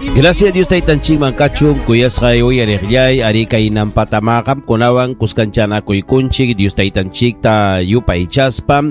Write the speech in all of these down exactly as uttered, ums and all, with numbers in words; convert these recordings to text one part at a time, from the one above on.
Gracias Dios taytanchikman kachun kuyasqay uyariqllay ari kaynampatama qamkunawan kuskanchanakuykunchik Dios taytanchikta yupaychaspa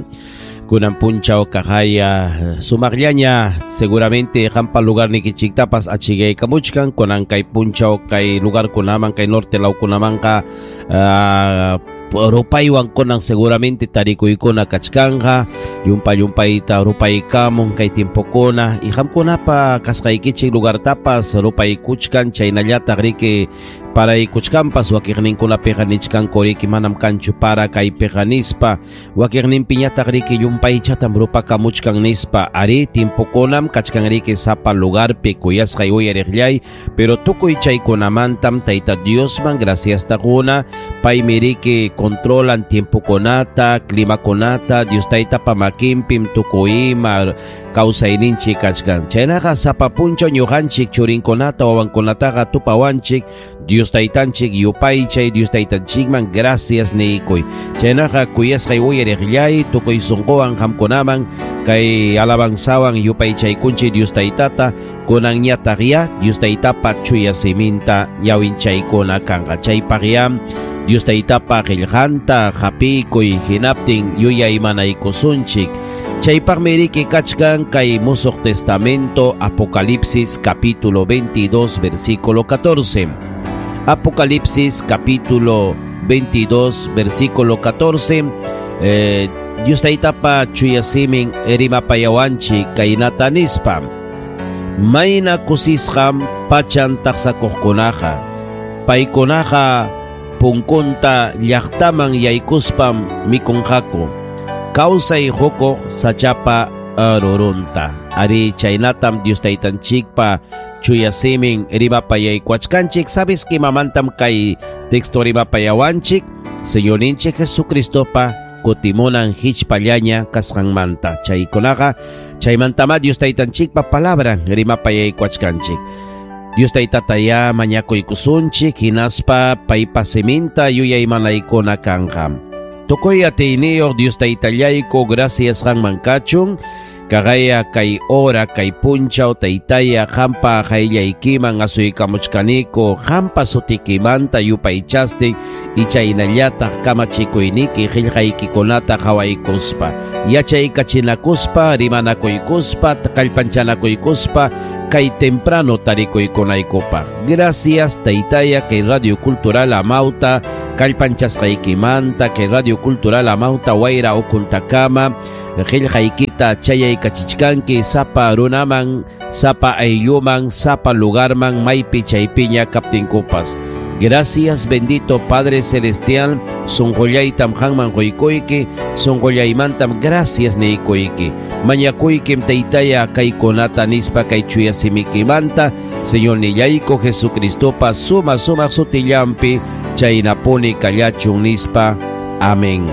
kunan punchaw kaqaya sumaqllaña seguramente qampa lugarnikichiktapas achigaykamuchkan kunan kay punchaw kay lugarkunaman kay norte lawkunamanqa uh, rupaywan kunan seguramente tarikuykuna kachkanja yumpa yumpayta rupaykamun kay tiempokuna y qamkunapa kasqaykichik lugartapas rupaykuchkan chaynallataq riki paraykuchkanpas wakiqninkunapiqa nichkanku riki manam kanchu para kaypiqa nispa wakiqninpiñataq riki yumpaychatam rupakamuchkan nispa ari tiempokunam kachkan riki sapa lugarpi kuyasqay uyariqllay pero tukuy chaykunamantam Tayta Diosman graciasta quna paymi riki controlan tiempokunata climakunata Dios taytapa makinpim tukuy ima kawsayninchik kachkan chaynaqa sapa punchaw ñuqanchik churinkunata wawankunataqa tupawanchik Dios taytanchik yupaychay Dios taytanchikman gracias niykuy chaynaqa kuyasqay uyariqllay tukuy sunquwan qamkunaman kay alabanzawan yupaychaykunchik Dios taytata kunanñataq ya Dios taytapa chuya siminta ñawinchaykuna kanqa chaypaq ya Dios taytapa qillqanta hapikuy hinaptin yuyaymanaykusunchik chaypaqmi riki kachkan kay Musuq Testamento Apocalipsis capítulo veintidós versículo catorce. Apocalipsis capítulo veintidós versículo catorce. Eh, Dios taytapa chuya simin rimapayawanchik kaynata nispa mayna kusisqam pachan taqsakuqkunaqa paykunaqa punkunta llaqtaman yaykuspam mikunqaku kawsay hukuq sachapa rurunta ari chaynatam Dios taytanchikpa chuya simin rimapayaykuachkanchik sabes que mamantam kay texto rimapayawanchik Señorninchik Jesucristopa kutimunan hichpallaña kasqanmanta chaykunaqa chaymantama Dios taytanchikpa palabra rimapayaykuachkanchik Dios taytataya mañakuykusunchik hinaspa paypa siminta yuyaymanaykuna kanqa tukuy atiyniyuq Dios taytallayku gracias qanman kachun kaqaya kay hora kay punchaw taytaya qampa qayllaykiman asuykamuchkaniku qampa sutikimanta yupaychastin ichaynallataq kamachikuyniki qillqaykikunata qhawaykuspa yachaykachinakuspa rimanakuykuspa kallpanchanakuykuspa kay temprano tarikuykunaykupaq. Gracias taytaya kay Radio Cultural Amauta kallpanchasqaykimanta kay Radio Cultural Amauta wayra ukuntakama qillqaykita chayaykachichkanki sapa runaman sapa aylluman sapa lugarman maypi chaypiña kaptinkupas. Gracias bendito Padre Celestial sunqullaytam qanman quykuyki sunqullaymantam gracias niykuyki mañakuykim taytaya kaykunata nispa kay chuya simikimanta Señor nillayku Jesucristopa suma sumaq sutillanpi chaynapuni kallachun nispa. Amén.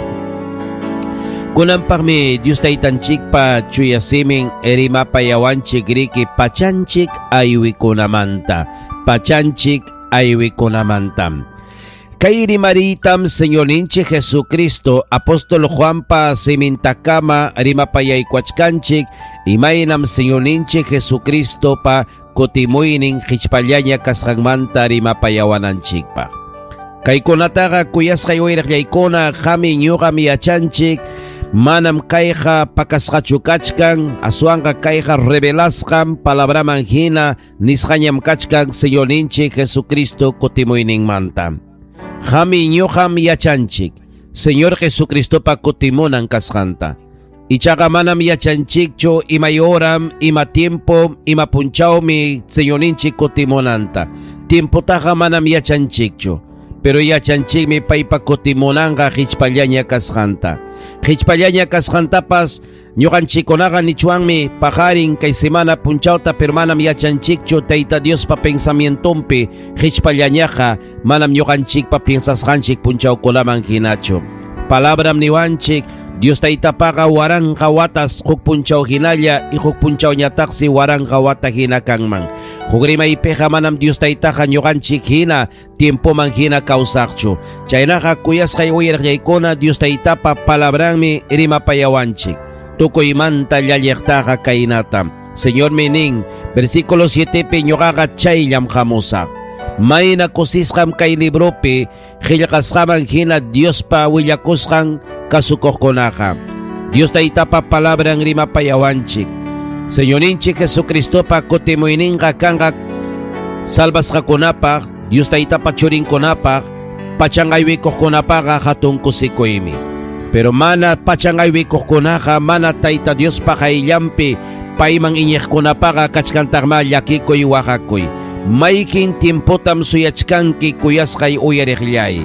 Kunanpaqmi Dios taytanchikpa chuya simin rimapayawanchik riki pachanchik aywikunamanta pachanchik aywikunamanta kay rimaritam Señorninchik Jesucristo apóstol Juanpa simintakama rimapayaykuachkanchik imaynam Señorninchik Jesucristopa kutimuynin hichpallaña kasqanmanta rimapayawananchikpaq kaykunataqa kuyasqay uyariqllaykuna qami ñuqami yachanchik manam kayqa pakasqachu kachkan aswanqa kayqa revelasqan palabraman hina nisqañam kachkan Señorninchik Jesucristo kutimuyninmanta qami ñuqam yachanchik Señor Jesucristopa kutimunan kasqanta ichaqa manam yachanchikchu imay horam ima tiempo ima punchawmi Señorninchik kutimunanta tiempotaqa manam yachanchikchu pero yachanchikmi paypa kutimunanqa hichpallaña kasqanta hichpallaña kasqantapas ñuqanchikkunaqa nichwanmi paqarin kay semana punchawta pero manam yachanchikchu Tayta Diospa pensamientonpi hichpallañaqa manam ñuqanchikpa piensasqanchik punchawkunaman hinachu palabram niwanchik Dios taytapaqa waranqa watas huk punchaw hinalla y huk punchawñataqsi waranqa wata hina kanman huk rimaypiqa manam Dios taytaqa ñuqanchik hina tiempoman hina kawsaqchu chaynaqa kuyasqay uyariqllaykuna Dios taytapa palabranmi rimapayawanchik tukuymanta llalliqtaqa kaynata Señor nin, versículo siete pi ñuqaqa chayllam hamusaq. Mayna kusisqam kay libropi qillqasqaman hina Diospa willakusqan kasukuqkunaqa. Dios Taytapa palabran rimapayawanchik. Señorinchik Jesucristopa kutimuyninqa kanqa salvasqakunapaq, Dios Taytapa churinkunapaq, pachanqaywikuqkunapaqa hatun kusikuymi. Pero mana pachanqaywikuqkunaqa mana Tayta Diospa qayllanpi payman iñiqkunapaqa kachkantaqma llakikuy waqakuy. Maykin tiempotam suyachkanki kuyasqay uyariqllay.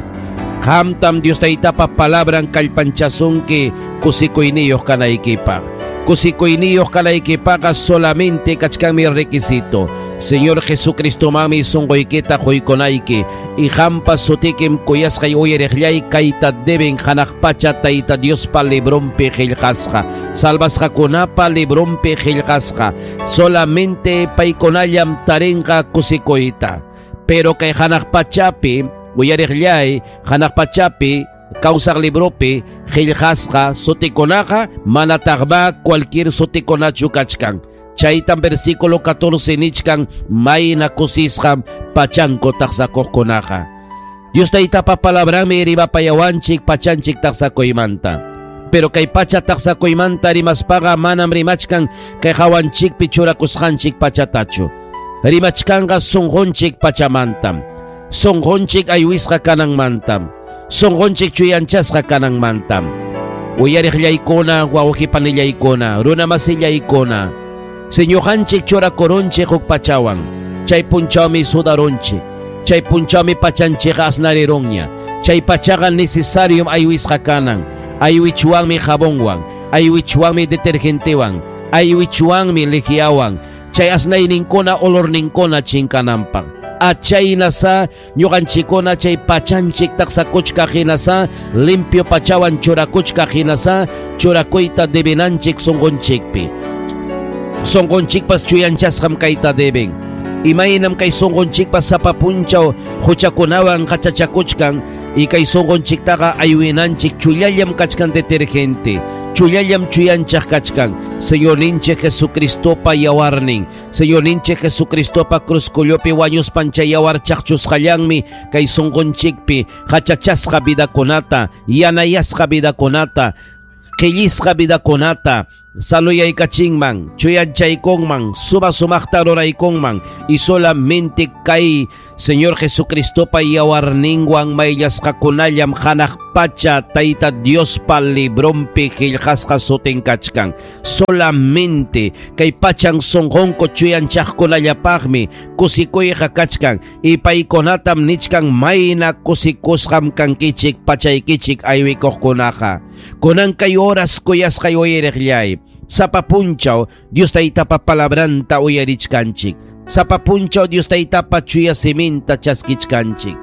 Qamtam Dios Taytapa palabran kallpanchasunki kusikuyniyuq kanaykipaq. Kusikuyniyuq kanaykipaqqa solamente kachkanmi requisito. Señor Jesucristomanmi sunquykita quykunayki y qampa sutikim kuyasqay uyariqllay kayta deben hanaq pacha Tayta Diospa librunpi qillqasqa. Salvasqakunapa librunpi qillqasqa. Solamente paykunallam tarinqa kusikuyta. Pero kay hanaq pachapi uyariqllay hanaq pachapi kawsaq libropi qillqasqa sutikunaqa manataqma cualquier sutikunachu kachkan. Chaytan versículo catorce nichkan mayna kusisqam pachanku taqsakuqkunaqa. Dios Taytapa palabranmi rimapayawanchik pachanchik taqsakuymanta. Pero kay pacha taqsakuymanta rimaspaqa manam rimachkan kay hawanchikpi churakusqanchik pachatachu. Rimachkanqa sunqunchik pachamantam. Sunqunchik aywisqa kananmantam. Sunqunchik chuyanchasqa kananmantam. Uyariqllaykuna, wawqipanillaykuna, runamasillaykuna. Señojanchik churakurunchik huk pachawan. Chay punchawmi sudarunchik. Chay punchawmi pachanchik asnarirunña. Chay pachaqa necesariom aywisqa kanan. Aywichwanmi jabonwan. Aywichwanmi detergentewan. Aywichwanmi lejiawan. Chay asnayninkuna olorninkuna chinkananpaq. Achaynasa ñuqanchikkuna chay pachanchik taqsakuchkaq hinasa limpio pachawan churakuchkaq hinasa churakuyta debenanchik sunqunchikpi. Sunqunchikpas chuyanchasqam kayta deben. Imaynam kay sunqunchikpas sapa punchaw huchakunawan qachachakuchkan y kay sunqunchiktaqa aywinanchik chullallam kachkan detergente. Chullallam chuyanchaq kachkan. Señorninchik Jesucristopa yawarnin. Señorninchik Jesucristopa cruzcullopi wañuspan chay yawar chaqchusqallanmi kay sunqunchikpi qachachasqa vidakunata, yanayasqa vidakunata, qillisqa vidakunata saluyaykachinman, chuyanchaykunman, suma sumaqta ruraykunman y solamente kay Señor Jesucristopa yawarninwan mayllasqakunallam hanaq pacha Tayta Diospa librunpi qillqasqa sutin kachkan. Solamente kay pachan sunqunku chuyanchaqkunallapaqmi kusikuyqa kachkan y paykunatam nichkan mayna kusikusqam kankichik pachaykichik aywikuqkunaqa. Kunan kay oras kuyasqay uyariqllay. Sapa punchaw Dios Taytapa palabranta uyarichkanchik. Sapa punchaw Dios Taytapa chuya siminta chaskichkanchik.